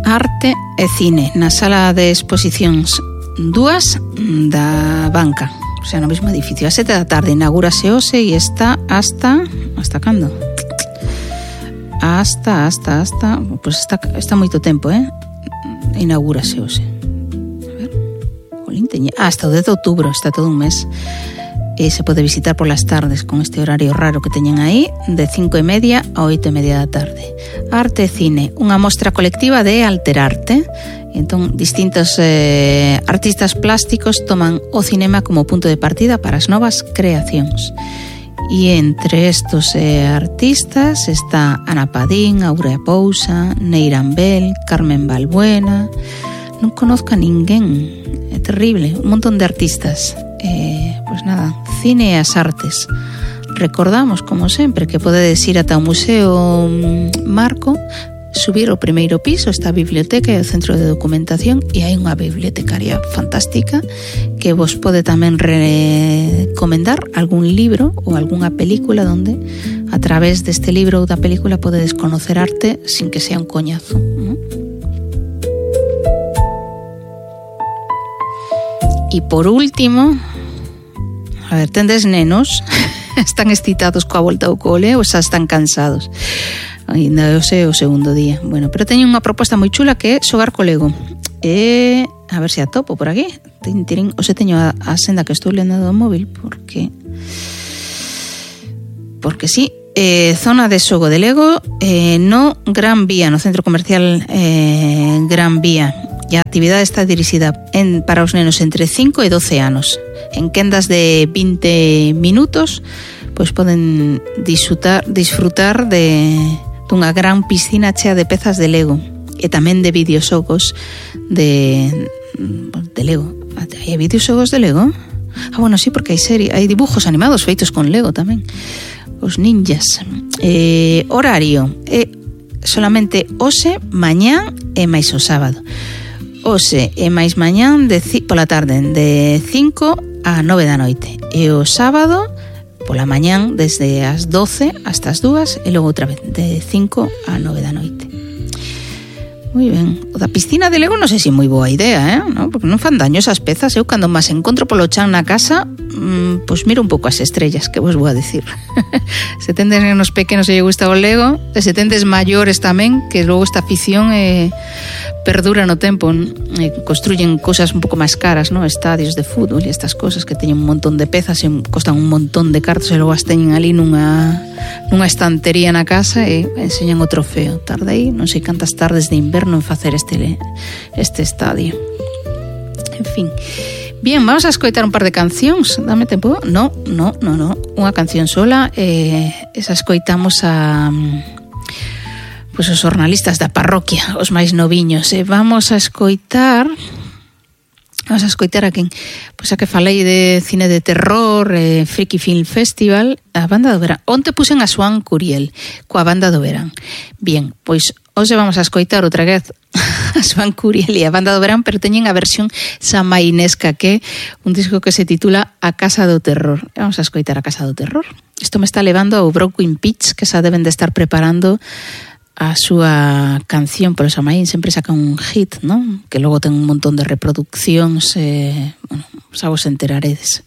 arte e cine na sala de exposicións 2 da Banca, o sea, no mesmo edificio. A 7 da tarde inaugúrase hoxe e está hasta cando? Hasta pues está moito tempo, inaugúrase hoxe. A ver, hasta o 10 de outubro, está todo un mes. E se pode visitar polas tardes con este horario raro que teñen aí, de 5:30 a 8:30 da tarde. Arte e cine, unha mostra colectiva de Alterarte. Entón, distintos artistas plásticos toman o cinema como punto de partida para as novas creacións. E entre estos artistas está Ana Padín, Aurea Pousa, Neira Ambel, Carmen Balbuena. Non conozco a ninguén, é terrible, un montón de artistas. Pois nada, cine e as artes. Recordamos, como sempre, que podedes ir ata o Museo Marco, subir ao primeiro piso, está a biblioteca e o centro de documentación, e hai unha bibliotecaria fantástica que vos pode tamén recomendar algún libro ou algunha película donde a través deste libro ou da película podedes conocer arte sin que sea un coñazo, ¿no? E por último, a ver, tendes nenos, están excitados coa volta ao cole ou xa están cansados? Ainda hoxe é o segundo día. Bueno, pero teño unha proposta moi chula que é xogar co Lego. A ver se a topo por aquí. Hoxe teño a senda que estou lendo do móvil porque sí. Zona de xogo de Lego no Gran Vía, no centro comercial Gran Vía. E a actividade está dirixida para os nenos entre 5 e 12 anos. En quendas de 20 minutos, pois poden disfrutar dunha gran piscina chea de pezas de Lego e tamén de videoxogos de Lego. Hai videoxogos de Lego? Bueno, sí, porque hai dibujos animados feitos con Lego tamén. Os ninjas. Horario solamente hoxe, mañán e máis o sábado. Hoxe e máis mañán pola tarde de 5 a 9 da noite e o sábado pola mañán desde as 12 hasta as 2 e logo outra vez de 5 a 9 da noite. Moi ben. O da piscina de Lego non sei se é moi boa idea, ¿no? Porque non fan daño esas pezas. Eu cando máis encontro polo chan na casa, pois miro un pouco as estrellas, que vos vou a decir. Se tendes nenos pequenos e lle gusta o Lego, e se tendes maiores tamén, que logo esta afición perdura no tempo, construyen cosas un pouco máis caras, ¿no? Estadios de fútbol e estas cosas que teñen un montón de pezas e costan un montón de cartos e logo as teñen ali nunha estantería na casa e enseñan o trofeo. Tardei non sei cantas tardes de inverno en facer este estadio. En fin. Bien, vamos a escoitar un par de cancións. Dame tempo? No. Unha canción sola. Esa escoitamos pois os xornalistas da parroquia, os máis noviños. Vamos a escoitar a quen? Pois a que falei de cine de terror, Friki Film Festival, a banda do verán. Onte puxen a Swan Curiel coa banda do verán. Bien, pois hoxe vamos a escoitar outra vez a Swan Curiel e a banda do verán, pero teñen a versión samainesca, que é un disco que se titula A Casa do Terror. Vamos a escoitar A Casa do Terror. Isto me está levando ao Broken Pitch, que xa deben de estar preparando a súa canción, pero Samaín sempre saca un hit, ¿no? Que logo ten un montón de reproduccións, bueno, xa vos enteraredes.